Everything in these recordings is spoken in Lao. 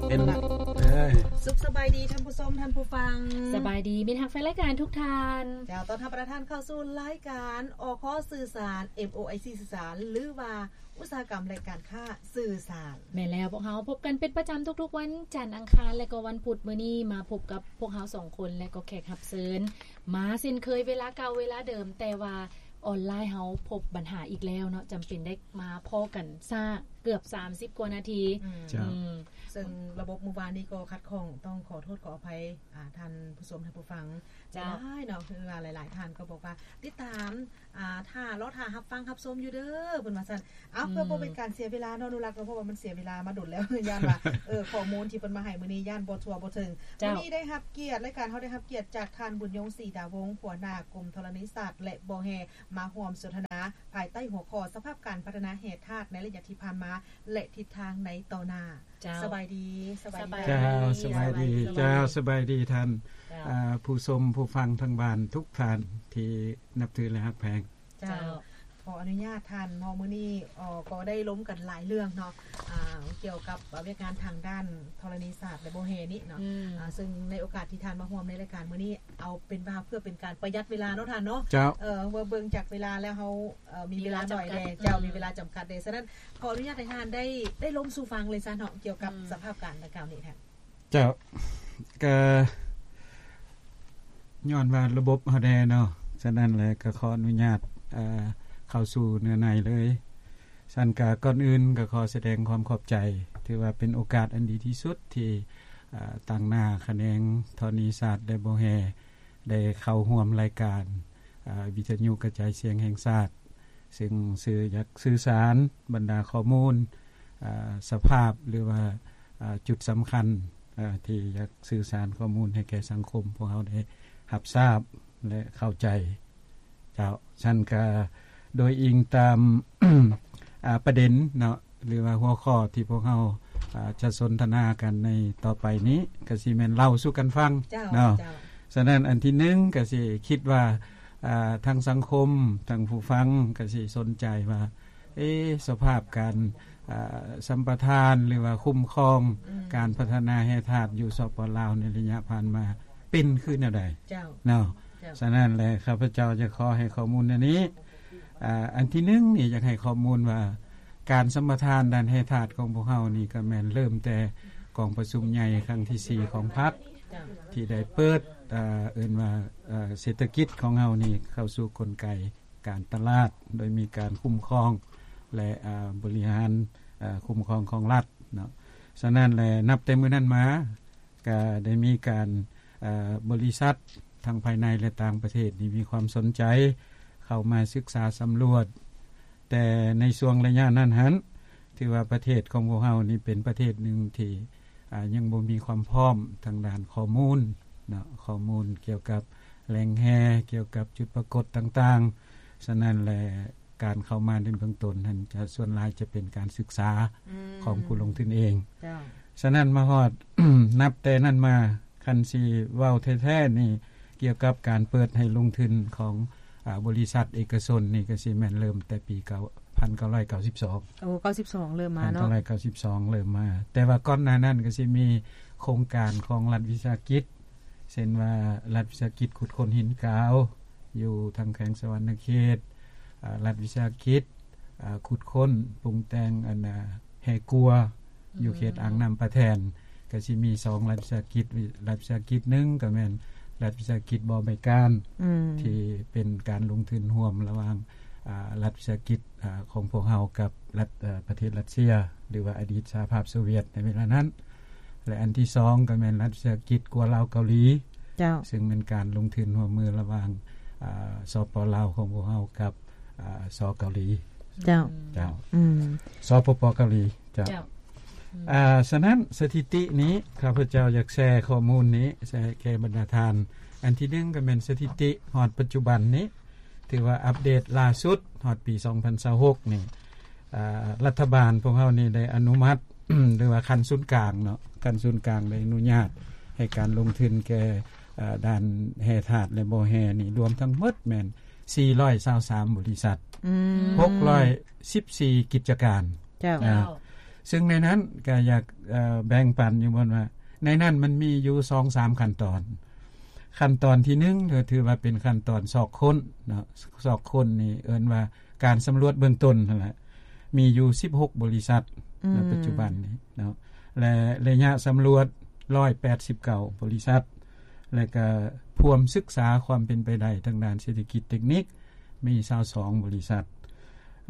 ເປັນ ເອີຍ ສຸກສະບາຍດີທ່ານຜູ້ຊົມ ທ່ານຜູ້ຟັງ ສະບາຍດີມິດຮັກແຟນລາຍການທຸກທ່ານ. ເຈົ້າ ຕ້ອນຮັບບັນດາທ່ານເຂົ້າສູ່ລາຍການ ອຄ ສື່ສານ ເອັມໂອໄອຊີ ສື່ສານ ຫຼືວ່າອຸດສາຫະກຳ ແລະ ການຄ້າສື່ສານ. ແມ່ນແລ້ວ, ພວກເຮົາພົບກັນເປັນປະຈຳທຸກໆວັນຈັນ, ອັງຄານ ແລະ ກໍວັນພຸດ. ມື້ນີ້ມາພົບກັບພວກເຮົາສອງຄົນ ແລະ ກໍແຂກຮັບເຊີນ ມາເຊັ່ນເຄີຍ ເວລາເກົ່າເວລາເດີມ, ແຕ່ວ່າອອນລາຍເຮົາພົບບັນຫາອີກແລ້ວເນາະ, ຈຳເປັນໄດ້ມາພໍ້ກັນຊ້າເກືອບສາມສິບກວ່ານາທີ. ອືມ ເຈົ້າ ອືມ ເຊິ່ງລະບົບມື້ວານນີ້ກໍຂັດຂ້ອງ, ຕ້ອງຂໍໂທດຂໍອະໄພ ອາ ທ່ານຜູ້ຊົມ ທ່ານຜູ້ຟັງ ເຈົ້າ ຫຼາຍເນາະ, ຄືວ່າຫຼາຍໆທ່ານກໍບອກວ່າຕິດຕາມ ອາ ຖ້າ ລໍຖ້າຮັບຟັງຮັບຊົມຢູ່ເດີ ເພິ່ນວ່າຊັ້ນ. ເອົາ ອືມ ເພື່ອບໍ່ເປັນການເສຍເວລາເນາະ ອະນຸລັກເນາະ, ເພາະວ່າມັນເສຍເວລາມາດົນແລ້ວ ຢ້ານວ່າ ເອີ ຂໍ້ມູນທີ່ເພິ່ນມາໃຫ້ມື້ນີ້ຢ້ານບໍ່ທົ່ວບໍ່ເຖິງ. ເຈົ້າ ມື້ນີ້ໄດ້ຮັບກຽດ, ລາຍການເຮົາໄດ້ຮັບກຽດຈາກທ່ານ ບຸນຍົງ ສີດາວົງ ຫົວໜ້າກົມທໍລະນີສາດ ແລະ ບໍ່ແຮ່ ມາຮ່ວມສົນທະນາພາຍໃຕ້ຫົວຂໍ້ ສະພາບການພັດທະນາແຮ່ທາດໃນໄລຍະທີ່ຜ່ານມາ ແລະ ທິດທາງໃນຕໍ່ໜ້າ. ເຈົ້າ ສະບາຍດີ ສະບາຍດີ. ເຈົ້າ ສະບາຍດີ ເຈົ້າ ສະບາຍດີທ່ານ ເຈົ້າ ອາ ຜູ້ຊົມຜູ້ຟັງທາງບ້ານທຸກທ່ານທີ່ນັບຖື ແລະ ຮັກແພງ. ເຈົ້າ ເຈົ້າ ຂໍອະນຸຍາດທ່ານເນາະ, ມື້ນີ້ ເອີ ກໍໄດ້ລົມກັນຫຼາຍເລື່ອງເນາະ ອາ ກ່ຽວກັບວຽກງານທາງດ້ານທໍລະນີສາດ ແລະ ບໍ່ແຮ່ນີ້ເນາະ. ອືມ ອາ ເຊິ່ງໃນໂອກາດທີ່ທ່ານມາຮ່ວມໃນລາຍການມື້ນີ້ ເອົາເປັນວ່າເພື່ອເປັນການປະຢັດເວລາເນາະທ່ານເນາະ. ເຈົ້າ ເອີ ເມື່ອເບິ່ງຈາກເວລາແລ້ວ ເຮົາ ເອີ ມີເວລາໜ້ອຍແດ່ ມີເວລາຈຳກັດ ເຈົ້າ ອືມ ມີເວລາຈຳກັດເດ້. ສະນັ້ນ ຂໍອະນຸຍາດໃຫ້ທ່ານໄດ້ ໄດ້ລົມສູ່ຟັງເລີຍຊະເນາະ ກ່ຽວກັບ ອືມ ສະພາບການດັ່ງກ່າວນີ້ທ່ານ. ເຈົ້າ ກະຍ້ອນວ່າລະບົບເຮົາແດ່ເນາະ, ສະນັ້ນແຫຼະ ກະຂໍອະນຸຍາດ ເອີ ເຂົ້າສູ່ເນື້ອໃນເລີຍ. ຊັ້ນກະກ່ອນອື່ນກະຂໍສະແດງຄວາມຂອບໃຈ, ຖືວ່າເປັນໂອກາດອັນດີທີ່ສຸດທີ່ ເອີ ຕາງໜ້າຂະແໜງທໍລະນີສາດ ແລະ ບໍ່ແຮ່ ໄດ້ເຂົ້າຮ່ວມລາຍການ ເອີ ວິທະຍຸກະຈາຍສຽງແຫ່ງຊາດ, ເຊິ່ງຊື່ ຢາກສື່ສານບັນດາຂໍ້ມູນ ເອີ ສະພາບ ຫຼືວ່າ ເອີ ຈຸດສຳຄັນ ເອີ ທີ່ຢາກສື່ສານຂໍ້ມູນໃຫ້ແກ່ສັງຄົມພວກເຮົາໄດ້ຮັບຊາບ ແລະ ເຂົ້າໃຈ. ເຈົ້າ ຊັ້ນກະໂດຍອີງຕາມ ອາ ປະເດັນເນາະ ຫຼືວ່າຫົວຂໍ້ທີ່ພວກເຮົາ ອາ ຈະສົນທະນາກັນໃນຕໍ່ໄປນີ້ ກະຊິແມ່ນເລົ່າສູ່ກັນຟັງ ເຈົ້າ ເນາະ. ເຈົ້າ ສະນັ້ນ ອັນທີໜຶ່ງ ກະຊິຄິດວ່າ ອາ ທັງສັງຄົມ ທັງຜູ້ຟັງ ກະຊິສົນໃຈວ່າ ເອ ສະພາບການ ອາ ສຳປະທານ ຫຼືວ່າຄຸ້ມຄອງ ອືມ ການພັດທະນາແຮ່ທາດຢູ່ ສປປ ລາວ ໃນໄລຍະຜ່ານມາ ເປັນຄືແນວໃດ? ເຈົ້າ ເນາະ. ເຈົ້າ ສະນັ້ນແຫຼະ ຂ້າພະເຈົ້າຈະຂໍໃຫ້ຂໍ້ມູນແນວນີ້. ອາ ອັນທີໜຶ່ງນີ້ ຢາກໃຫ້ຂໍ້ມູນວ່າ ການສຳປະທານດ້ານແຮ່ທາດຂອງພວກເຮົານີ້ ກໍແມ່ນເລີ່ມແຕ່ກອງປະຊຸມໃຫຍ່ຄັ້ງທີສີ່ຂອງພັກ ເຈົ້າ ທີ່ໄດ້ເປີດ ອາ ເອີ້ນວ່າ ອາ ເສດຖະກິດຂອງເຮົານີ້ເຂົ້າສູ່ກົນໄກການຕະຫຼາດ ໂດຍມີການຄຸ້ມຄອງ ແລະ ອາ ບໍລິຫານ ອາ ຄຸ້ມຄອງຂອງລັດເນາະ. ສະນັ້ນແຫຼະ ນັບແຕ່ມື້ນັ້ນມາ ກະໄດ້ມີການ ເອີ ບໍລິສັດທັງພາຍໃນ ແລະ ຕ່າງປະເທດນີ້ມີຄວາມສົນໃຈເຂົ້າມາສຶກສາສຳຫຼວດ, ແຕ່ໃນຊ່ວງໄລຍະນັ້ນຫັ້ນ ຖືວ່າປະເທດຂອງພວກເຮົານີ້ເປັນປະເທດໜຶ່ງທີ່ ອາ ຍັງບໍ່ມີຄວາມພ້ອມທາງດ້ານຂໍ້ມູນເນາະ, ຂໍ້ມູນກ່ຽວກັບແຫຼ່ງແຮ່ ກ່ຽວກັບຈຸດປາກົດຕ່າງໆ. ສະນັ້ນແຫຼະ ການເຂົ້າມາໃນເບື້ອງຕົ້ນຫັ້ນ ຈະ ສ່ວນຫຼາຍຈະເປັນການສຶກສາ ອືມ ຂອງຜູ້ລົງທຶນເອງ. ເຈົ້າ ສະນັ້ນມາຮອດ ນັບແຕ່ນັ້ນມາ ຄັນຊິເວົ້າແທ້ໆນີ້ ກ່ຽວກັບການເປີດໃຫ້ລົງທຶນຂອງ ອາ ບໍລິສັດເອກະຊົນນີ້ ກະຊິແມ່ນເລີ່ມແຕ່ປີ ພັນເກົ້າຮ້ອຍເກົ້າສິບສອງ. ໂອ້ ເກົ້າສິບສອງເລີ່ມມາເນາະ. ພັນເກົ້າຮ້ອຍເກົ້າສິບສອງເລີ່ມມາ, ແຕ່ວ່າກ່ອນໜ້ານັ້ນກະຊິມີໂຄງການຂອງລັດວິສາຫະກິດ ເຊັ່ນວ່າ ລັດວິສາຫະກິດຂຸດຄົ້ນຫີນກາວ ຢູ່ທາງແຂວງສະຫວັນນະເຂດ, ອາ ລັດວິສາຫະກິດ ອາ ຂຸດຄົ້ນປຸງແຕ່ງ ອັນ ອາ ແຮ່ກົວ ອືມ ຢູ່ເຂດອ່າງນ້ຳປະແທ່ນ. ກະຊິມີສອງລັດວິສາຫະກິດ, ລັດວິສາຫະກິດໜຶ່ງກະແມ່ນລັດວິສາຫະກິດບໍ່ໃບການ ອືມ ທີ່ເປັນການລົງທຶນຮ່ວມລະຫວ່າງ ອາ ລັດວິສາຫະກິດ ອາ ຂອງພວກເຮົາກັບລັດ ອາ ປະເທດຣັດເຊຍ ຫຼືວ່າອະດີດສະຫະພາບໂຊວຽດໃນເວລານັ້ນ. ແລະ ອັນທີສອງກະແມ່ນລັດວິສາຫະກິດກົວລາວເກົາຫຼີ ເຈົ້າ ເຊິ່ງແມ່ນການລົງທຶນຮ່ວມມືລະຫວ່າງ ອາ ສປປ ລາວຂອງພວກເຮົາກັບ ອາ ສ ເກົາຫຼີ. ເຈົ້າ ເຈົ້າ ອືມ ສປປ ເກົາຫຼີ. ເຈົ້າ ເຈົ້າ ອືມ ອາ ສະນັ້ນ ສະຖິຕິນີ້ ຂ້າພະເຈົ້າຢາກແຊຂໍ້ມູນນີ້ ແຊແກ່ບັນດາທ່ານ. ອັນທີໜຶ່ງກະແມ່ນສະຖິຕິຮອດປັດຈຸບັນນີ້ ຖືວ່າອັບເດດລ່າສຸດຮອດປີສອງພັນຊາວຫົກນີ້ ອາ ລັດຖະບານພວກເຮົານີ້ໄດ້ອະນຸມັດ ຫຼືວ່າຂັ້ນສູນກາງເນາະ, ຂັ້ນສູນກາງໄດ້ອະນຸຍາດໃຫ້ການລົງທຶນແກ່ ອາ ດ້ານແຮ່ທາດ ແລະ ບໍ່ແຮ່ນີ້ ລວມທັງໝົດແມ່ນສີ່ຮ້ອຍຊາວສາມບໍລິສັດ ອືມ ຫົກຮ້ອຍສິບສີ່ກິດຈະການ. ເຈົ້າ ອາ ເຈົ້າ ເຊິ່ງໃນນັ້ນກໍຢາກ ເອີ ແບ່ງປັນຢູ່ບ່ອນວ່າ ໃນນັ້ນມັນມີຢູ່ສອງສາມຂັ້ນຕອນ. ຂັ້ນຕອນທີໜຶ່ງ ກໍຖືວ່າເປັນຂັ້ນຕອນຊອກຄົ້ນເນາະ, ຊອກຄົ້ນນີ້ເອີ້ນວ່າການສຳຫຼວດເບື້ອງຕົ້ນຫັ້ນແຫຼະ, ມີຢູ່ສິບຫົກບໍລິສັດໃນປັດຈຸບັນນີ້ເນາະ ແລະ ໄລຍະສຳຫຼວດຮ້ອຍແປດສິບເກົ້າບໍລິສັດ ແລະ ກະພວມສຶກສາຄວາມເປັນໄປໄດ້ທາງດ້ານເສດຖະກິດເຕັກນິກ ມີຊາວສອງບໍລິສັດ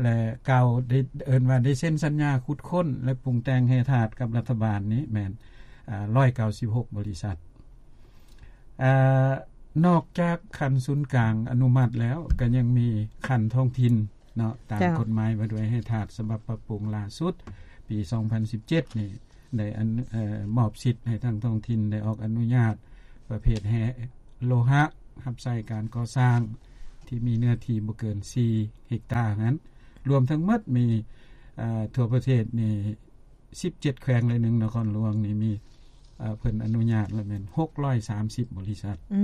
ແລະ ກ່າວໄດ້ ເອີ້ນວ່າໄດ້ເຊັນສັນຍາຂຸດຄົ້ນ ແລະ ປຸງແຕ່ງແຮ່ທາດກັບລັດຖະບານນີ້ແມ່ນ ອາ ຮ້ອຍເກົ້າສິບຫົກບໍລິສັດ. ອາ ນອກຈາກຂັ້ນສູນກາງອະນຸມັດແລ້ວ ກໍຍັງມີຂັ້ນທ້ອງຖິ່ນເນາະ, ຕາມ ເຈົ້າ ກົດໝາຍວ່າດ້ວຍແຮ່ທາດສະບັບປັບປຸງລ່າສຸດ ປີສອງພັນສິບເຈັດນີ້ ໄດ້ອັນ ເອີ ມອບສິດໃຫ້ທາງທ້ອງຖິ່ນໄດ້ອອກອະນຸຍາດປະເພດແຮ່ໂລຫະ ຮັບໃຊ້ການກໍ່ສ້າງທີ່ມີເນື້ອທີ່ບໍ່ເກີນສີ່ເຮັກຕານັ້ນ, ລວມທັງໝົດມີ ເອີ ທົ່ວປະເທດນີ້ສິບເຈັດແຂວງ ແລະ ໜຶ່ງນະຄອນຫຼວງນີ້ມີ ເອີ ເພິ່ນອະນຸຍາດລະແມ່ນຫົກຮ້ອຍສາມສິບບໍລິສັດ ອື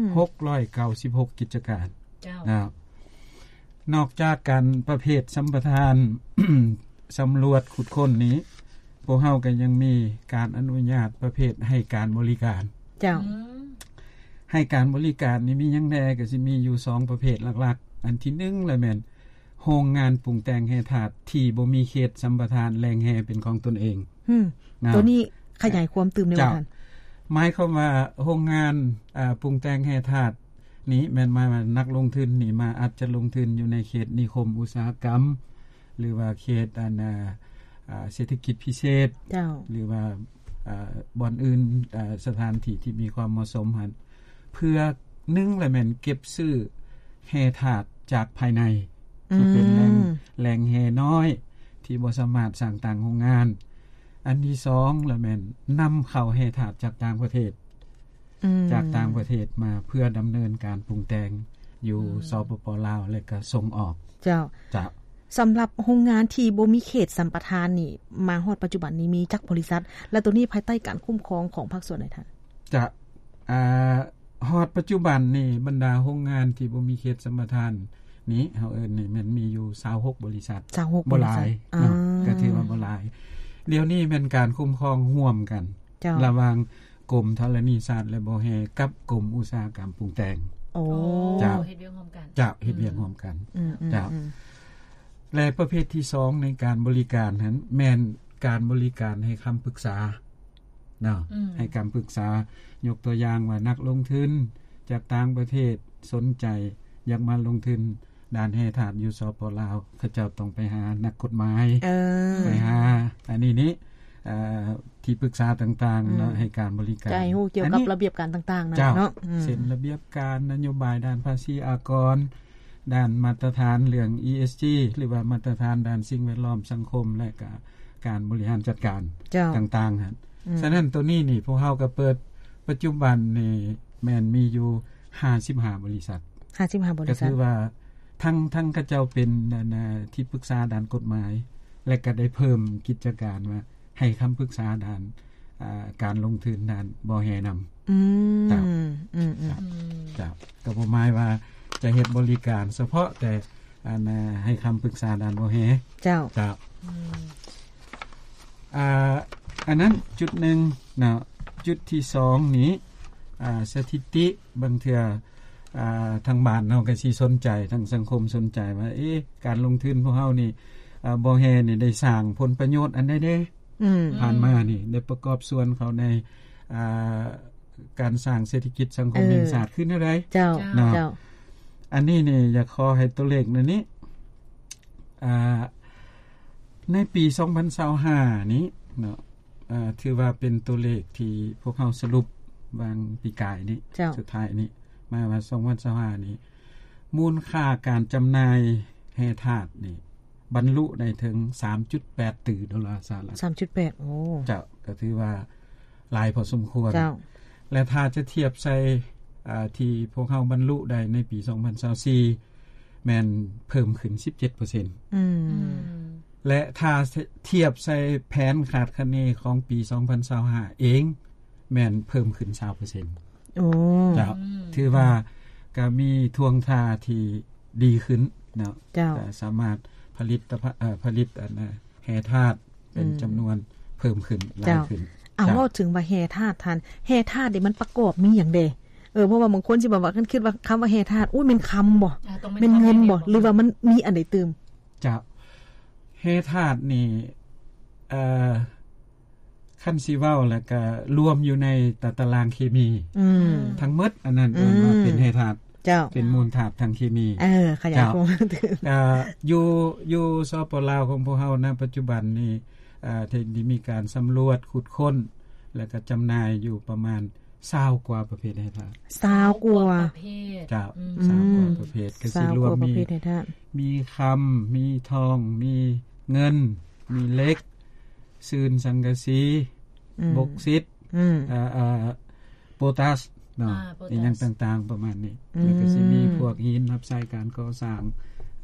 ມ ຫົກຮ້ອຍເກົ້າສິບຫົກກິດຈະການ ເຈົ້າ ນະ. ນອກຈາກການປະເພດສຳປະທານ ສຳຫຼວດຂຸດຄົ້ນນີ້ ພວກເຮົາກໍຍັງມີການອະນຸຍາດປະເພດໃຫ້ການບໍລິການ. ເຈົ້າ ອືມ ໃຫ້ການບໍລິການນີ້ມີຫຍັງແດ່? ກໍຊິມີຢູ່ສອງປະເພດຫຼັກໆ. ອັນທີໜຶ່ງລະແມ່ນໂຮງງານປຸງແຕ່ງແຮ່ທາດທີ່ບໍ່ມີເຂດສຳປະທານແຫຼ່ງແຮ່ເປັນຂອງຕົນເອງ. ອືມ ນະ ຕົວນີ້ຂະຫຍາຍຄວາມຕື່ມແດ່ ເຈົ້າ ວ່າຊັ້ນ. ໝາຍຄວາມວ່າໂຮງງານ ອາ ປຸງແຕ່ງແຮ່ທາດນີ້ ແມ່ນໝາຍວ່ານັກລົງທຶນນີ້ມາອາດຈະລົງທຶນຢູ່ໃນເຂດນິຄົມອຸດສາຫະກຳ ຫຼືວ່າເຂດອັນ ອາ ອາ ເສດຖະກິດພິເສດ ເຈົ້າ ຫຼືວ່າ ອາ ບ່ອນອື່ນ ອາ ສະຖານທີ່ທີ່ມີຄວາມເໝາະສົມຫັ້ນ ເພື່ອໜຶ່ງລະແມ່ນເກັບຊື້ແຮ່ທາດຈາກພາຍໃນ ອືມ ທີ່ເປັນແຫຼ່ງ ແຫຼ່ງແຮ່ນ້ອຍທີ່ບໍ່ສາມາດສ້າງຕັ້ງໂຮງງານ. ອັນທີສອງລະແມ່ນນຳເຂົ້າແຮ່ທາດຈາກຕ່າງປະເທດ ອືມ ຈາກຕ່າງປະເທດມາເພື່ອດຳເນີນການປຸງແຕ່ງຢູ່ ອືມ ສປປ ລາວ ແລະ ກໍສົ່ງອອກ. ເຈົ້າ ເຈົ້າ ສຳລັບໂຮງງານທີ່ບໍ່ມີເຂດສຳປະທານນີ້ ມາຮອດປັດຈຸບັນນີ້ມີຈັກບໍລິສັດ ແລະ ໂຕນີ້ພາຍໃຕ້ການຄຸ້ມຄອງຂອງພາກສ່ວນໃດທ່ານ? ເຈົ້າ ອາ ຮອດປັດຈຸບັນນີ້ບັນດາໂຮງງານທີ່ບໍ່ມີເຂດສຳປະທານນີ້ ເຮົາເອີ້ນນີ້ແມ່ນມີຢູ່ຊາວຫົກບໍລິສັດ. ຊາວຫົກ ບໍ່ຫຼາຍ ບໍລິສັດ ເນາະ ອາ ກໍຖືວ່າບໍ່ຫຼາຍ. ດຽວນີ້ແມ່ນການຄຸ້ມຄອງຮ່ວມກັນ ເຈົ້າ ລະຫວ່າງ ກົມທໍລະນີຊາດ ແລະ ບໍ່ແຮ່ ກັບກົມອຸດສາຫະກຳປຸງແຕ່ງ. ໂອ້ ເຈົ້າ ເຮັດວຽກຮ່ວມກັນ. ເຈົ້າ ເຮັດວຽກ ອືມ ຮ່ວມກັນ. ອືມ ເຈົ້າ ອືມ ແລະ ປະເພດທີສອງໃນການບໍລິການຫັ້ນ ແມ່ນການບໍລິການໃຫ້ຄຳປຶກສາເນາະ. ອືມ ໃຫ້ຄຳປຶກສາ ຍົກຕົວຢ່າງວ່ານັກລົງທຶນຈາກຕ່າງປະເທດສົນໃຈຢາກມາລົງທຶນ ດ້ານແຮ່ທາດຢູ່ ສປປ ລາວ ເຂົາເຈົ້າຕ້ອງໄປຫານັກກົດໝາຍ ເອີ ໄປຫາອັນນີ້ນີ້ ເອີ ທີ່ປຶກສາຕ່າງໆເນາະ ອືມ ໃຫ້ການບໍລິການ ໃຫ້ຮູ້ກ່ຽວກັບ ອັນນີ້ ລະບຽບການຕ່າງໆນັ້ນ ເຈົ້າ ເນາະ ອືມ ເຊັ່ນລະບຽບການ ນະໂຍບາຍດ້ານພາສີອາກອນ ດ້ານມາດຕະຖານເລື່ອງ ອີເອສຈີ ຫຼືວ່າມາດຕະຖານດ້ານສິ່ງແວດລ້ອມ ສັງຄົມ ແລະ ກະການບໍລິຫານຈັດການ ເຈົ້າ ຕ່າງໆຫັ້ນ. ອືມ ສະນັ້ນໂຕນີ້ນີ້ ພວກເຮົາກໍເປີດ ປັດຈຸບັນນີ້ແມ່ນມີຢູ່ ຫ້າສິບຫ້າບໍລິສັດ. ຫ້າສິບຫ້າບໍລິສັດ ກໍຖືວ່າທັງ ທັງເຂົາເຈົ້າເປັນ ອັນ ທີ່ປຶກສາດ້ານກົດໝາຍ ແລະ ກໍໄດ້ເພີ່ມກິດຈະການວ່າໃຫ້ຄຳປຶກສາດ້ານ ອາ ການລົງທຶນດ້ານບໍ່ແຮ່ນຳ. ອືມ ເຈົ້າ ອືມ ເຈົ້າ ອືມ ເຈົ້າ ກໍບໍ່ໝາຍວ່າຈະເຮັດບໍລິການສະເພາະແຕ່ ອັນ ໃຫ້ຄຳປຶກສາດ້ານບໍ່ແຮ່. ເຈົ້າ ເຈົ້າ ອືມ ອ່າ ອັນນັ້ນຈຸດໜຶ່ງເນາະ. ຈຸດທີສອງນີ້ ອ່າ ສະຖິຕິ ບາງເທື່ອ ອ່າ ທາງບ້ານເຮົາກໍຊິສົນໃຈ ທາງສັງຄົມສົນໃຈວ່າ ເອ ການລົງທຶນພວກເຮົານີ້ ອ່າ ບໍ່ແຮ່ນີ້ໄດ້ສ້າງຜົນປະໂຫຍດອັນໃດແດ່? ອືມ ຜ່ານມານີ້ໄດ້ປະກອບສ່ວນເຂົ້າໃນ ອ່າ ການສ້າງເສດຖະກິດສັງຄົມແຫ່ງຊາດຄືແນວໃດ? ເຈົ້າ ເຈົ້າ ເນາະ ເຈົ້າ ອັນນີ້ນີ້ຢາກຂໍໃຫ້ຕົວເລກໃນນີ້ ອ່າ ໃນປີສອງພັນຊາວຫ້ານີ້ເນາະ ເອີ ຖືວ່າເປັນຕົວເລກທີ່ພວກເຮົາສະຫຼຸບຫວ່າງປີກາຍນີ້ ເຈົ້າ ສຸດທ້າຍນີ້ ໝາຍວ່າສອງພັນຊາວຫ້ານີ້ ມູນຄ່າການຈຳໜ່າຍແຮ່ທາດນີ້ ບັນລຸໄດ້ເຖິງສາມຈຸດແປດຕື້ໂດລາສະຫະລັດ. ສາມຈຸດແປດ ໂອ້ ເຈົ້າ ກໍຖືວ່າຫຼາຍພໍສົມຄວນ. ເຈົ້າ ແລະ ຖ້າຈະທຽບໃສ່ ອ່າ ທີ່ພວກເຮົາບັນລຸໄດ້ໃນປີສອງພັນຊາວສີ່ ແມ່ນເພີ່ມຂຶ້ນສິບເຈັດເປີເຊັນ. ອືມ ແລະ ຖ້າທຽບໃສ່ແຜນຄາດຄະເນຂອງປີສອງພັນຊາວຫ້າເອງ ແມ່ນເພີ່ມຂຶ້ນຊາວເປີເຊັນ. ໂອ້ ເຈົ້າ ອືມ ຖືວ່າກໍມີທ່ວງທ່າທີ່ດີຂຶ້ນເນາະ. ເຈົ້າ ກໍສາມາດຜະລິດຕະພະ ເອີ ຜະລິດອັນ ແຮ່ທາດ ເປັນຈຳນວນເພີ່ມຂຶ້ນຫຼາຍຂຶ້ນ. ເຈົ້າ ເອົາ ເວົ້າເຖິງວ່າແຮ່ທາດທ່ານ ແຮ່ທາດນີ້ມັນປະກອບມີຫຍັງແດ່? ເອີ ເພາະວ່າບາງຄົນຊິແບບວ່າ ຄັນຄິດວ່າຄຳວ່າແຮ່ທາດ ໂອ້ຍ ແມ່ນຄຳບໍ? ອ່າ ຕ້ອງແມ່ນ ແມ່ນເງິນບໍ? ຄຳແທ້ໆ ຫຼືວ່າມັນມີອັນໃດຕື່ມ? ເຈົ້າ ແຮ່ທາດນີ້ ເອີ ຄັນຊິເວົ້າແລ້ວກະລວມຢູ່ໃນຕາ ຕາລາງເຄມີ ອືມ ທັງໝົດ ອັນນັ້ນ ອືມ ເອີ້ນວ່າເປັນແຮ່ທາດ ເຈົ້າ ເປັນມູນທາດທາງເຄມີ. ເອີ ຂະຫຍາຍຄວາມ ເຈົ້າ ກະຢູ່ ຢູ່ ສປປ ລາວຂອງພວກເຮົານະ ປັດຈຸບັນນີ້ ເອີ ໄດ້ມີການສຳຫຼວດຂຸດຄົ້ນ ແລ້ວກະຈຳໜ່າຍຢູ່ປະມານ ຊາວກວ່າປະເພດແຮ່ທາດ. ຊາວກວ່າ ຊາວກວ່າປະເພດ. ເຈົ້າ ອືມ ຊາວກວ່າປະເພດ ກະຊິລວມມີ ມີຄຳ ມີທອງ ມີເງິນ ມີເຫຼັກ ຊືນ ສັງກະສີ ອືມ ບົກຊິດ ອືມ ເອີ ເອີ ໂປຕາສເນາະ ອ່າ ໂປຕາສ ອີ່ຫຍັງຕ່າງໆ ປະມານນີ້ ອືມ ແລ້ວກະຊິມີພວກຫີນຮັບໃຊ້ການກໍ່ສ້າງ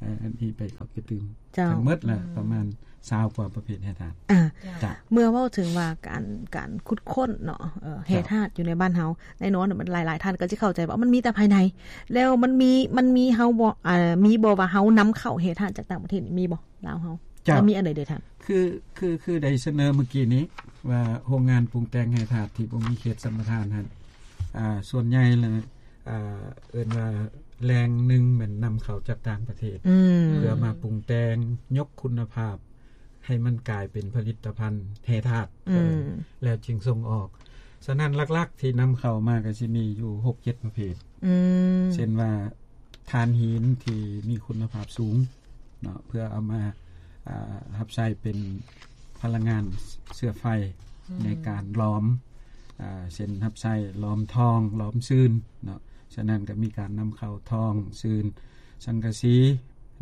ເອີ ອັນນີ້ໄປເຂົ້າໄປຕື່ມ ເຈົ້າ ທັງໝົດລະ ອືມ ປະມານ ຊາວກວ່າປະເພດແຮ່ທາດ. ອ່າ ເຈົ້າ ເມື່ອເວົ້າເຖິງວ່າການ ການຂຸດຄົ້ນເນາະ ເອີ ເຈົ້າ ແຮ່ທາດຢູ່ໃນບ້ານເຮົາ ແນ່ນອນ ມັນ ຫຼາຍໆ ທ່ານກໍຈະເຂົ້າໃຈວ່າມັນມີແຕ່ພາຍໃນ ແລ້ວມັນມີ ມັນມີເຮົາບໍ່ ເອີ ມີບໍ່ວ່າເຮົານຳເຂົ້າແຮ່ທາດຈາກຕ່າງປະເທດນີ້ ມີບໍ່ ລາວເຮົາ? ເຈົ້າ ແລ້ວມີອັນໃດເດທ່ານ? ຄື ຄື ຄືໄດ້ສະເໜີມື້ກີ້ນີ້ວ່າ ໂຮງງານປຸງແຕ່ງແຮ່ທາດທີ່ບໍ່ມີເຂດສຳປະທານຫັ້ນ ອ່າ ສ່ວນໃຫຍ່ແລ້ວ ອ່າ ເອີ້ນວ່າແຫຼ່ງໜຶ່ງແມ່ນນຳເຂົ້າຈາກຕ່າງປະເທດ ອືມ ເພື່ອມາປຸງແຕ່ງ ຍົກຄຸນນະພາບໃຫ້ມັນກາຍເປັນຜະລິດຕະພັນແຮ່ທາດ ອືມ ແລ້ວຈຶ່ງສົ່ງອອກ. ສະນັ້ນ ຫຼັກໆ ທີ່ນຳເຂົ້າມາກໍຊິມີຢູ່ຫົກເຈັດປະເພດ ອືມ ເຊັ່ນວ່າຖ່ານຫີນທີ່ມີຄຸນນະພາບສູງເນາະ ເພື່ອເອົາມາ ອ່າ ຮັບໃຊ້ເປັນພະລັງງານເຊື້ອໄຟ ອືມ ໃນການຫຼອມ ອ່າ ເຊັ່ນຮັບໃຊ້ຫຼອມທອງ ຫຼອມຊືນເນາະ. ສະນັ້ນກໍມີການນຳເຂົ້າທອງ ຊືນ ສັງກະສີ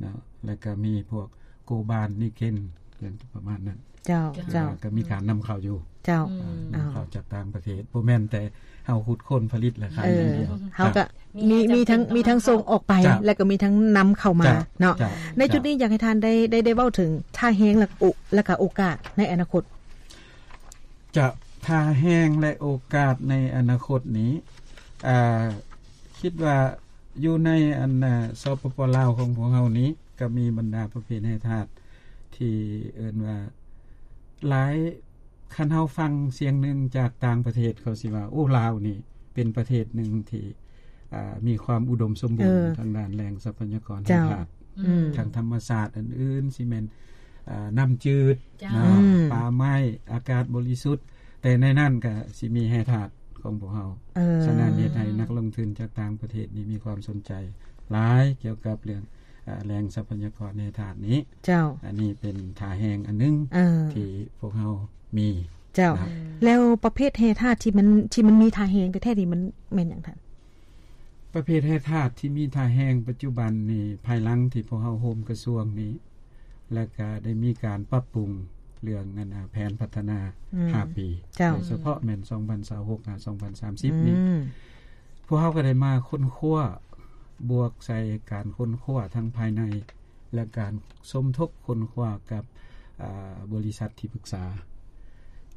ເນາະ ແລ້ວກໍມີພວກໂກບານ ນິເກັນ ເລື່ອງປະມານນັ້ນ. ເຈົ້າ ເຈົ້າ ກໍມີການນຳເຂົ້າຢູ່. ເຈົ້າ ອືມ ນຳເຂົ້າຈາກຕ່າງປະເທດ ບໍ່ແມ່ນແຕ່ເຮົາຂຸດຄົ້ນຜະລິດແລ້ວຂາຍຢ່າງດຽວ. ເອີ ເຮົາກໍມີ ມີທັງ ມີທັງສົ່ງອອກໄປ ເຈົ້າ ແລ້ວກໍມີທັງນຳເຂົ້າມາ ເຈົ້າ ເນາະ. ເຈົ້າ ໃນຈຸດນີ້ ເຈົ້າ ຢາກໃຫ້ທ່ານໄດ້ ໄດ້ ໄດ້ເວົ້າເຖິງທ່າແຮງ ແລະ ໂອ ແລະກະໂອກາດໃນອະນາຄົດ. ຈະ ທ່າແຮງ ແລະ ໂອກາດໃນອະນາຄົດນີ້ ອ່າ ຄິດວ່າຢູ່ໃນອັນ ສປປ ລາວຂອງພວກເຮົານີ້ ກໍມີບັນດາປະເພດແຮ່ທາດທີ່ເອີ້ນວ່າຫຼາຍ ຄັນເຮົາຟັງສຽງໜຶ່ງຈາກຕ່າງປະເທດ ເຂົາຊິວ່າ ໂອ້ ລາວນີ້ເປັນປະເທດໜຶ່ງທີ່ ອ່າ ມີຄວາມອຸດົມສົມບູນ ເອີ ທາງດ້ານແຫຼ່ງຊັບພະຍາກອນ ເຈົ້າ ທາງທາດ ອືມ ທາງທຳມະຊາດອື່ນໆ ຊິແມ່ນ ອ່າ ນ້ຳຈືດ ເຈົ້າ ເນາະ ອືມ ປ່າໄມ້ ອາກາດບໍລິສຸດ ແຕ່ໃນນັ້ນກະຊິມີແຮ່ທາດຂອງພວກເຮົາ. ເອີ ສະນັ້ນເຮັດໃຫ້ນັກລົງທຶນຈາກຕ່າງປະເທດນີ້ມີຄວາມສົນໃຈຫຼາຍກ່ຽວກັບເລື່ອງ ອ່າ ແຫຼ່ງຊັບພະຍາກອນແຮ່ທາດນີ້. ເຈົ້າ ອັນນີ້ເປັນທ່າແຮງອັນໜຶ່ງ ເອີ ທີ່ພວກເຮົາມີ. ເຈົ້າ ນະ ແລ້ວປະເພດແຮ່ທາດທີ່ມັນ ທີ່ມັນມີທ່າແຮງແທ້ໆນີ້ ມັນແມ່ນຫຍັງທ່ານ? ປະເພດແຮ່ທາດທີ່ມີທ່າແຮງປັດຈຸບັນນີ້ ພາຍຫຼັງທີ່ພວກເຮົາໂຮມກະຊວງນີ້ ແລ້ວກະໄດ້ມີການປັບປຸງເລື່ອງ ອັນ ແຜນພັດທະນາ ອືມ ຫ້າປີ ເຈົ້າ ໂດຍສະເພາະແມ່ນ ສອງພັນຊາວຫົກ ຫາ ສອງພັນສາມສິບນີ້ ອືມ ພວກເຮົາກໍໄດ້ມາຄົ້ນຄວ້າ ບວກໃສ່ການຄົ້ນຄວ້າທັງພາຍໃນ ແລະ ການສົມທົບຄົ້ນຄວ້າກັບ ອ່າ ບໍລິສັດທີ່ປຶກສາ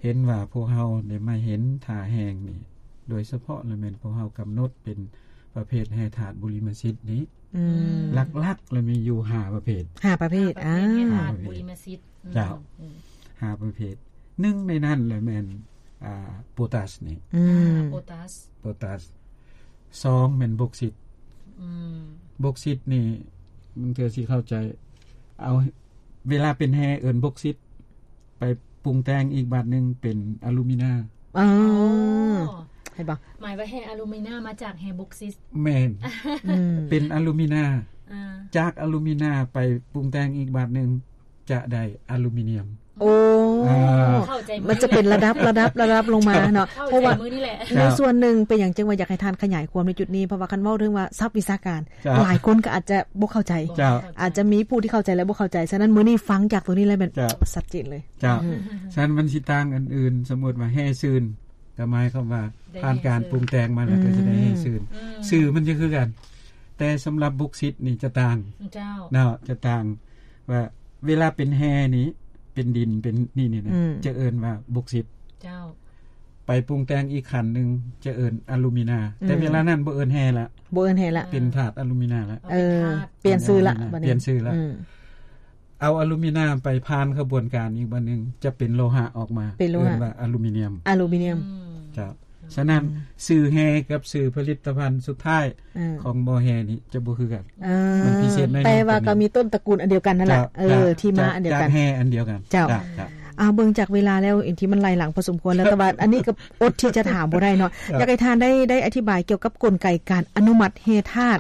ເຫັນວ່າພວກເຮົາໄດ້ມາເຫັນທ່າແຮງນີ້ ໂດຍສະເພາະລະແມ່ນພວກເຮົາກຳນົດເປັນປະເພດແຮ່ທາດບຸລິມະສິດນີ້ ອືມ ຫຼັກໆລະມີຢູ່ຫ້າປະເພດ ຫ້າປະເພດ ຫ້າປະເພດ ອ່າ ແຮ່ທາດບຸລິມະສິດ ເຈົ້າ ອືມ ຫ້າປະເພດ ໜຶ່ງໃນນັ້ນລະແມ່ນ ອ່າ ໂປຕາສນີ້ ອືມ ອ່າ ໂປຕາສ ໂປຕາສ ສອງແມ່ນບົກຊິດ ອືມ ບົກຊິດນີ້ບາງເທື່ອຊິເຂົ້າໃຈ ເອົາ ເວລາເປັນແຮ່ເອີ້ນບົກຊິດ ໄປປຸງແຕ່ງອີກບາດໜຶ່ງເປັນອາລູມີນາ ອໍ ອໍ ເຫັນບໍ່ ໝາຍວ່າແຮ່ອາລູມີນາມາຈາກແຮ່ບົກຊິດ ແມ່ນ ອືມ ເປັນອາລູມີນາ ອ່າ ຈາກອາລູມີນາໄປປຸງແຕ່ງອີກບາດໜຶ່ງ ຈະໄດ້ອາລູມີນຽມ ໂອ້ ອ່າ ເຂົ້າໃຈ ມັນຈະເປັນລະດັບ ລະດັບ ລະດັບລົງມາເນາະ ເຂົ້າໃຈ ເພາະວ່າ ມື້ນີ້ແຫຼະ ໃນສ່ວນໜຶ່ງເປັນຫຍັງຈຶ່ງວ່າຢາກໃຫ້ທ່ານຂະຫຍາຍຄວາມໃນຈຸດນີ້ ເພາະວ່າຄັນເວົ້າເຖິງວ່າສັບວິຊາການ ເຈົ້າ ຫຼາຍຄົນກໍອາດຈະບໍ່ເຂົ້າໃຈ ເຈົ້າ ອາດຈະມີຜູ້ທີ່ເຂົ້າໃຈ ແລະ ບໍ່ເຂົ້າໃຈ ສະນັ້ນມື້ນີ້ຟັງຈາກຕົວນີ້ແລ້ວແມ່ນ ເຈົ້າ ຊັດເຈນເລີຍ ເຈົ້າ ອືມ ສະນັ້ນມັນຊິຕ່າງອັນອື່ນ ສົມມຸດວ່າແຮ່ຊືນ ກໍໝາຍຄວາມວ່າຜ່ານການປຸງແຕ່ງມາແລ້ວກໍຈະໄດ້ແຮ່ຊືນ ອືມ ຊື່ມັນຈະຄືກັນ ແຕ່ສຳລັບບົກຊິດນີ້ຈະຕ່າງ ເຈົ້າ ເນາະ ຈະຕ່າງ ວ່າເວລາເປັນແຮ່ນີ້ ເປັນດິນ ເປັນນີ້ນີ້ນະ ອືມ ຈະເອີ້ນວ່າບົກຊິດ ເຈົ້າ ໄປປຸງແຕ່ງອີກຂັ້ນໜຶ່ງ ຈະເອີ້ນອາລູມີນາ ອືມ ແຕ່ເວລານັ້ນບໍ່ເອີ້ນແຮ່ລະ ບໍ່ເອີ້ນແຮ່ລະ ເປັນທາດອາລູມີນາລະ ເອີ ເປັນທາດ ປ່ຽນຊື່ລະ ເປັນອາລູມີນາ ບັດນີ້ ປ່ຽນຊື່ລະ ອືມ ເອົາອາລູມີນຽມໄປຜ່ານຂະບວນການອີກບາດໜຶ່ງ ຈະເປັນໂລຫະອອກມາ ເປັນໂລຫະ ເອີ້ນວ່າອາລູມີນຽມ ອາລູມີນຽມ. ອືມ ເຈົ້າ. ສະນັ້ນ ອືມ ຊື່ແຮກັບຊື່ຜະລິດຕະພັນສຸດທ້າຍ ອືມ ຂອງບໍ່ແຮນີ້ຈະບໍ່ຄືກັນ. ເອີ ມັນພິເສດໜ້ອຍໜຶ່ງ ແຕ່ວ່າກໍມີຕົ້ນຕະກູນອັນດຽວກັນນັ້ນແຫຼະ. ເຈົ້າ ເອີ ເຈົ້າ ທີ່ມາອັນດຽວກັນ ຈາກແຮອັນດຽວກັນ. ເຈົ້າ ເຈົ້າ ເຈົ້າ. ອ້າວ ເບິ່ງຈາກເວລາແລ້ວ ເອັນທີ່ມັນໄລ່ຫຼັງພໍສົມຄວນແລ້ວ ແຕ່ວ່າອັນນີ້ກໍອົດທີ່ຈະຖາມບໍ່ໄດ້ເນາະ. ເຈົ້າ. ຢາກໃຫ້ທ່ານໄດ້ ໄດ້ອະທິບາຍກ່ຽວກັບກົນໄກການອະນຸມັດແຮ່ທາດ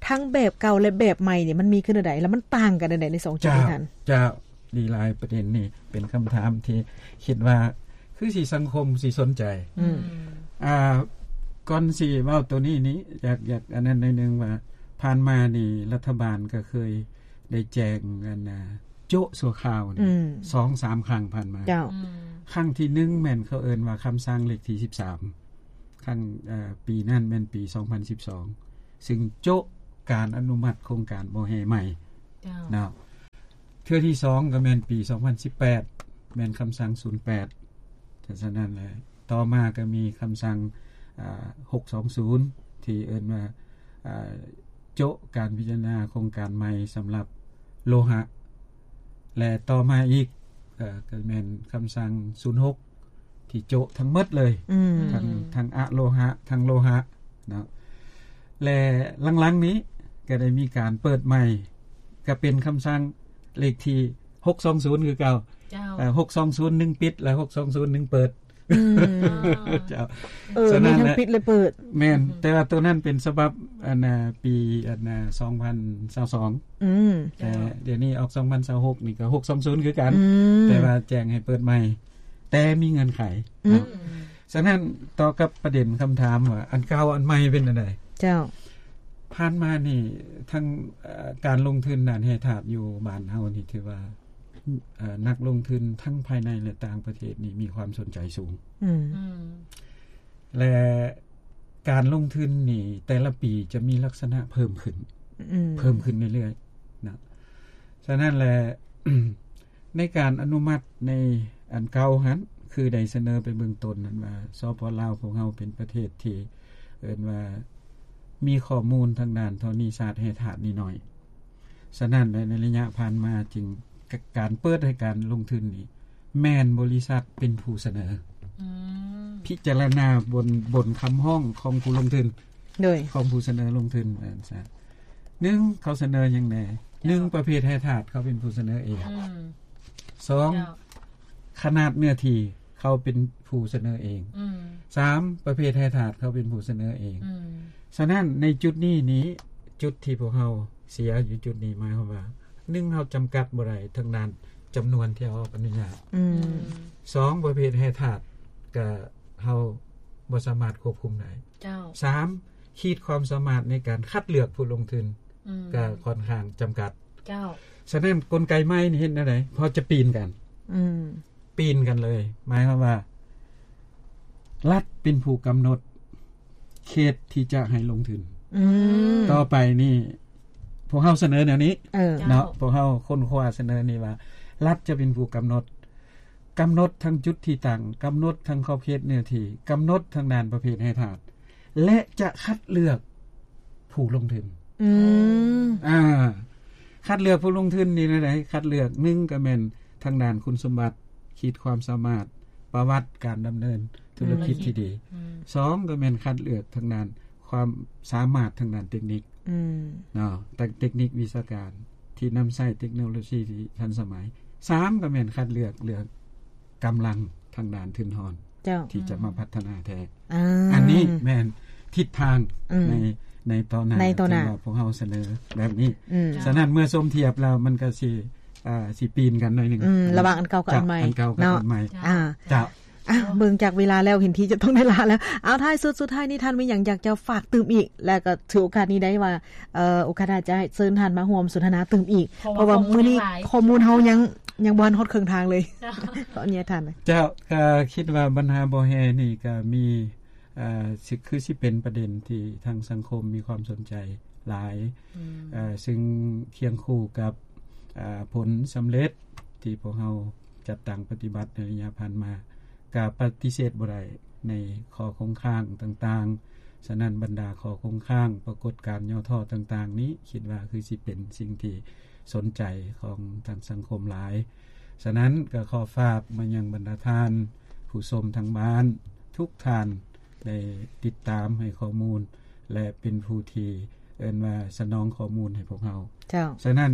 ທັງແບບເກົ່າ ແລະ ແບບໃໝ່ນີ້ ມັນມີຂຶ້ນແນວໃດ ແລະ ມັນຕ່າງກັນແນວໃດໃນສອງຈຸດນີ້ທ່ານ? ເຈົ້າ. ດີຫຼາຍປະເດັນນີ້ ເປັນຄຳຖາມທີ່ຄິດວ່າຄືຊິສັງຄົມຊິສົນໃຈ. ອືມ ອ່າ ກ່ອນຊິເວົ້າໂຕນີ້ນີ້ ຢາກ ຢາກອັນນັ້ນໜ້ອຍໜຶ່ງວ່າ ຜ່ານມານີ້ລັດຖະບານກໍເຄີຍໄດ້ແຈ້ງອັນນ່າ ໂຈະຊົ່ວຄາວນີ້ ອືມ ສອງສາມຄັ້ງຜ່ານມາ. ເຈົ້າ. ອືມ ຄັ້ງທີໜຶ່ງແມ່ນເຂົາເອີ້ນວ່າຄຳສັ່ງເລກທີສິບສາມ ຄັ້ງ ເອີ ປີນັ້ນແມ່ນປີສອງພັນສິບສອງ ຊຶ່ງໂຈະການອະນຸມັດໂຄງການບໍ່ແຮ່ໃໝ່. ເຈົ້າ. ເນາະ ເທື່ອທີສອງກໍແມ່ນປີສອງພັນສິບແປດ ແມ່ນຄຳສັ່ງສູນແປດ. ສະນັ້ນແຫຼະ ຕໍ່ມາກໍມີຄຳສັ່ງ ອ່າ ຫົກສອງສູນ ທີ່ເອີ້ນວ່າ ອ່າ ໂຈະການພິຈາລະນາໂຄງການໃໝ່ສຳລັບໂລຫະ ແລະ ຕໍ່ມາອີກ ເອີ ກໍແມ່ນຄຳສັ່ງສູນຫົກ ທີ່ໂຈະທັງໝົດເລີຍ ອືມ ທັງ ທັງອະໂລຫະ ທັງໂລຫະເນາະ. ແລະ ຫຼັງໆນີ້ກໍໄດ້ມີການເປີດໃໝ່ ກໍເປັນຄຳສັ່ງເລກທີຫົກສອງສູນຄືເກົ່າ. ເຈົ້າ. ເອີ ຫົກສອງສູນໜຶ່ງປິດ ແລະ ຫົກສອງສູນໜຶ່ງເປີດ. ອືມ ເຈົ້າ. ເອີ ສະນັ້ນ ມີທັງປິດ ແລະ ເປີດ. ແມ່ນ. ອືມ ແຕ່ວ່າໂຕນັ້ນເປັນສະບັບ ອັນນ່າ ປີ ອັນນ່າ ສອງພັນຊາວສອງ. ອືມ ແຕ່ ເຈົ້າ. ດຽວນີ້ອອກສອງພັນຊາວຫົກ ນີ້ກໍຫົກສອງສູນຄືກັນ. ອືມ ແຕ່ວ່າແຈ້ງໃຫ້ເປີດໃໝ່ ແຕ່ມີເງື່ອນໄຂ. ອືມ ເນາະ. ສະນັ້ນ ຕໍ່ກັບປະເດັນຄຳຖາມວ່າ ອັນເກົ່າອັນໃໝ່ເປັນແນວໃດ? ເຈົ້າ. ຜ່ານມານີ້ ທັງ ເອີ ການລົງທຶນດ້ານແຮ່ທາດຢູ່ບ້ານເຮົານີ້ ຖືວ່າ ເອີ ນັກລົງທຶນທັງພາຍໃນ ແລະ ຕ່າງປະເທດນີ້ມີຄວາມສົນໃຈສູງ. ອືມ ອືມ ແລະ ການລົງທຶນນີ້ ແຕ່ລະປີຈະມີລັກສະນະເພີ່ມຂຶ້ນ ອືມ ເພີ່ມຂຶ້ນເລື້ອຍໆນະ. ສະນັ້ນແຫຼະ ໃນການອະນຸມັດໃນອັນເກົ່າຫັ້ນ ຄືໄດ້ສະເໜີໄປເບື້ອງຕົ້ນນັ້ນວ່າ ສປປ ລາວ ພວກເຮົາເປັນປະເທດທີ່ເອີ້ນວ່າມີຂໍ້ມູນທາງດ້ານທໍນີສາດແຮ່ທາດນີ້ໜ້ອຍ. ສະນັ້ນ ໃນໄລຍະຜ່ານມາຈຶ່ງ ກ- ການເປີດໃຫ້ການລົງທຶນນີ້ ແມ່ນບໍລິສັດເປັນຜູ້ສະເໜີ. ອືມ ພິຈາລະນາບົນ ບົນຄຳຮ້ອງຂອງຜູ້ລົງທຶນ. ໂດຍ ຂອງຜູ້ສະເໜີລົງທຶນ ວ່າຊັ້ນຊະ. ໜຶ່ງ ເຂົາສະເໜີຫຍັງແດ່? ເຈົ້າ. ໜຶ່ງ ປະເພດແຮ່ທາດ ເຂົາເປັນຜູ້ສະເໜີເອງ. ອືມ ສອງ ເຈົ້າ. ຂະໜາດເນື້ອທີ່ ເຂົາເປັນຜູ້ສະເໜີເອງ. ອືມ ສາມ ປະເພດແຮ່ທາດ ເຂົາເປັນຜູ້ສະເໜີເອງ. ອືມ ສະນັ້ນ ໃນຈຸດນີ້ນີ້ ຈຸດທີ່ພວກເຮົາເສຍຢູ່ຈຸດນີ້ ໝາຍຄວາມວ່າ ໜຶ່ງ ເຮົາຈຳກັດບໍ່ໄດ້ທາງດ້ານຈຳນວນທີ່ເຮົາອອກອະນຸຍາດ. ອືມ ອືມ ສອງ ປະເພດແຮ່ທາດ ກະເຮົາບໍ່ສາມາດຄວບຄຸມໄດ້. ເຈົ້າ. ສາມ ຂີດຄວາມສາມາດໃນການຄັດເລືອກຜູ້ລົງທຶນ ອືມ ກະຂ້ອນຂ້າງຈຳກັດ. ເຈົ້າ. ສະນັ້ນ ກົນໄກໃໝ່ນີ້ເຮັດແນວໃດ? ເພາະຈະປີນກັນ. ອືມ ປີນກັນເລີຍ ໝາຍຄວາມວ່າ ລັດເປັນຜູ້ກຳນົດເຂດທີ່ຈະໃຫ້ລົງທຶນ. ອືມ ຕໍ່ໄປນີ້ ພວກເຮົາສະເໜີແນວນີ້ ເອີ ເນາະ ເຈົ້າ ພວກເຮົາຄົ້ນຄວ້າສະເໜີນີ້ວ່າ ລັດຈະເປັນຜູ້ກຳນົດ ກຳນົດທັງຈຸດທີ່ຕັ້ງ, ກຳນົດທັງຂອບເຂດເນື້ອທີ່, ກຳນົດທາງດ້ານປະເພດແຮ່ທາດ ແລະ ຈະຄັດເລືອກຜູ້ລົງທຶນ. ອືມ ອ່າ ຄັດເລືອກຜູ້ລົງທຶນນີ້ແນວໃດ? ຄັດເລືອກ ໜຶ່ງ ກໍແມ່ນທາງດ້ານຄຸນສົມບັດ, ຂີດຄວາມສາມາດ, ປະຫວັດການດຳເນີນທຸລະກິດທີ່ດີ. ອືມ ສອງ ກໍແມ່ນຄັດເລືອກທາງດ້ານຄວາມສາມາດທາງດ້ານເຕັກນິກ. ອືມ ເນາະ ເຕັກນິກວິຊາການທີ່ນຳໃຊ້ເຕັກໂນໂລຊີທີ່ທັນສະໄໝ. ສາມ ກໍແມ່ນຄັດເລືອກ ເລືອກກຳລັງທາງດ້ານທຶນຮອນ ເຈົ້າ ທີ່ຈະມາພັດທະນາແທ້. ອ່າ ອັນນີ້ແມ່ນທິດທາງ ອືມ ໃນ ໃນຕໍ່ໜ້າ ໃນຕໍ່ໜ້າ ທີ່ວ່າພວກເຮົາສະເໜີແບບນີ້. ອືມ ສະນັ້ນເມື່ອສົມທຽບແລ້ວ ມັນກໍຊິ ອ່າ ຊິປີນກັນໜ້ອຍໜຶ່ງ ອືມ ລະຫວ່າງອັນເກົ່າກັບອັນໃໝ່ ອັນເກົ່າກັບ ເນາະ ອັນໃໝ່. ອ່າ ເຈົ້າ. ອ່ະ ເບິ່ງຈາກເວລາແລ້ວ ເຫັນທີ່ຈະຕ້ອງໄດ້ລາແລ້ວ. ເອົາ ທ້າຍສຸດ ສຸດທ້າຍນີ້ ທ່ານມີຫຍັງຢາກຈະຝາກຕື່ມອີກ? ແລ້ວກໍຖືໂອກາດນີ້ໄດ້ວ່າ ເອີ ໂອກາດໜ້າຈະເຊີນທ່ານມາຮ່ວມສົນທະນາຕື່ມອີກ ເພາະວ່າ ເພາະວ່າມື້ນີ້ຂໍ້ມູນເຮົາຍັງ ຍັງບໍ່ທັນຮອດເຄິ່ງທາງເລີຍ. ເຈົ້າ ຂໍອະນຸຍາດທ່ານ. ເຈົ້າ ກໍຄິດວ່າບັນຫາບໍ່ແຮ່ນີ້ກໍມີ ເອີ ຊິ ຄືຊິເປັນປະເດັນທີ່ທາງສັງຄົມມີຄວາມສົນໃຈຫຼາຍ. ອືມ ເອີ ຊຶ່ງຄຽງຄູ່ກັບ ເອີ ຜົນສຳເລັດທີ່ພວກເຮົາຈັດຕັ້ງປະຕິບັດໃນໄລຍະຜ່ານມາ ກະປະຕິເສດບໍ່ໄດ້ໃນຂໍ້ຄົງຄ້າງຕ່າງໆ. ສະນັ້ນ ບັນດາຂໍ້ຄົງຄ້າງ, ປາກົດການຫຍໍ້ທໍ້ຕ່າງໆນີ້ ຄິດວ່າຄືຊິເປັນສິ່ງທີ່ ສົນໃຈຂອງທາງສັງຄົມຫຼາຍ. ສະນັ້ນກໍຂໍຝາກມາຍັງບັນດາທ່ານຜູ້ຊົມທາງບ້ານທຸກທ່ານ ໄດ້ຕິດຕາມໃຫ້ຂໍ້ມູນ ແລະ ເປັນຜູ້ທີ່ເອີ້ນວ່າສະໜອງຂໍ້ມູນໃຫ້ພວກເຮົາ. ເຈົ້າ. ສະນັ້ນ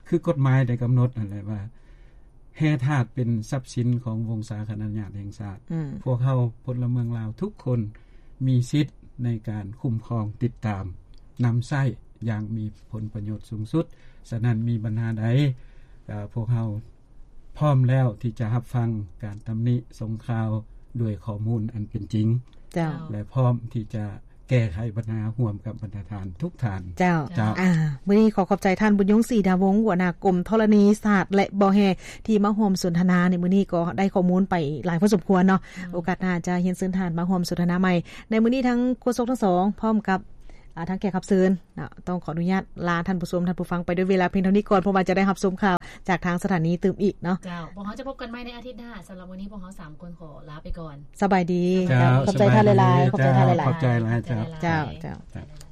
ຄືກົດໝາຍໄດ້ກຳນົດຫັ້ນແຫຼະວ່າ ແຮ່ທາດເປັນຊັບສິນຂອງວົງສາຄະນະຍາດແຫ່ງຊາດ. ອືມ. ພວກເຮົາພົນລະເມືອງລາວທຸກຄົນມີສິດໃນການຄຸ້ມຄອງ, ຕິດຕາມ, ນຳໃຊ້ຢ່າງມີຜົນປະໂຫຍດສູງສຸດ. ສະນັ້ນ ມີບັນຫາໃດ ເອີ ພວກເຮົາ ພ້ອມແລ້ວທີ່ຈະຮັບຟັງການຕຳໜິສົ່ງຂ່າວດ້ວຍຂໍ້ມູນອັນເປັນຈິງ. ເຈົ້າ. ແລະ ພ້ອມທີ່ຈະແກ້ໄຂບັນຫາຮ່ວມກັບບັນດາທ່ານທຸກທ່ານ. ເຈົ້າ. ເຈົ້າ. ອາ ມື້ນີ້ຂໍຂອບໃຈທ່ານ ບຸນຍົງ ສີດາວົງ ຫົວໜ້າກົມທໍລະນີສາດ ແລະ ບໍ່ແຮ່ ທີ່ມາຮ່ວມສົນທະນາໃນມື້ນີ້ ກໍໄດ້ຂໍ້ມູນໄປຫຼາຍພໍສົມຄວນເນາະ. ອືມ. ໂອກາດໜ້າຈະຮຽນເຊີນທ່ານມາຮ່ວມສົນທະນາໃໝ່. ໃນມື້ນີ້ທັງໂຄສົກທັງສອງ ພ້ອມກັບ ອາ ທາງແຂກຮັບເຊີນ ເນາະ ຕ້ອງຂໍອະນຸຍາດລາທ່ານຜູ້ຊົມທ່ານຜູ້ຟັງໄປດ້ວຍເວລາພຽງເທົ່ານີ້ກ່ອນ ເພາະວ່າຈະໄດ້ຮັບຊົມຂ່າວຈາກທາງສະຖານີຕື່ມອີກເນາະ. ເຈົ້າ. ພວກເຮົາຈະພົບກັນໃໝ່ໃນອາທິດໜ້າ. ສຳລັບມື້ນີ້ພວກເຮົາສາມຄົນຂໍລາໄປກ່ອນ. ສະບາຍດີ. ເຈົ້າ. ຂອບໃຈທ່ານຫຼາຍໆ. ຂອບໃຈທ່ານຫຼາຍໆ. ຂອບໃຈຫຼາຍໆ. ເຈົ້າ. ເຈົ້າ.